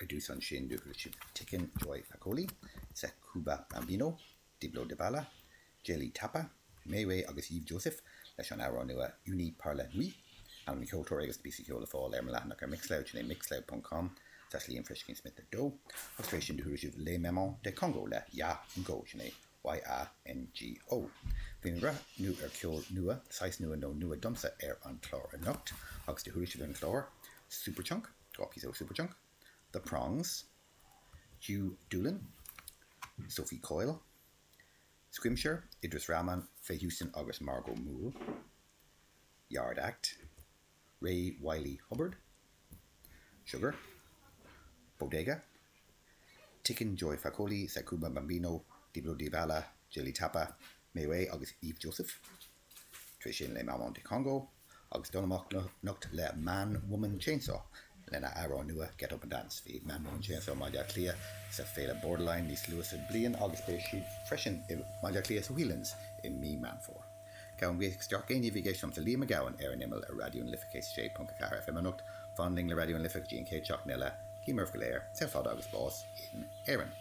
Ar dtús ansin do chuala sibh Tiken Joy Fakoly, Sekouba Bambino, Diblo Dibala, Djely Tapa, Meiway agus Yves Joseph leis an amhrán nua Unis par la nuit. Ainm na gceoltóirí agus na píosaí ceoil le fáil ar mo leathanach ar Mixcloud, sin é mixcloud ponc com slash Liam Friskin Smith 2. Agus tar éis sin do chuala sibh Les Mamans de Congo le Ya Ngo, sin é YANGO. Bhí mé ag breathnú ar cheol nua, saghas nua nó nua domsa ar an chlár anocht agus do chuala sibh ar an chlár Superchunk, 2 phíosa ó Superchunk, The Prongs, Hugh Doolan, Sophie Coyle, Scrimshire, Idris Rahman, Faye Houston agus Margot Moule, Yard Act, Ray Wylie Hubbard, Sugar, Bodega, Tiken Joy Fakoly, Sekouba Bambino, Diblo Dibala, Djely Tapa, Meiway agus Yves Joseph. Tar éis sin Les Mamans de Congo agus dul amach anocht le Man Woman Chainsaw lena amhrán nua Get Up and Dance. Bhí Man Woman Chainsaw i mBaile Átha Cliath sa Féile Borderline níos luaithe sa bliain agus beidh siad freisin i mBaile Átha Cliath sa Whelan's i mí Meán Fómhair. Gabhaim buíochas de gach éinne a bhí ag éisteacht liomsa Liam Mac Gabhann ar an Imeall ar Raidió na Life 106.4 FM anocht. Fan linn le Raidió na Life go dtí an chéad seachtain eile. Guím oraibh go léir saol fada agus bás in Éirinn.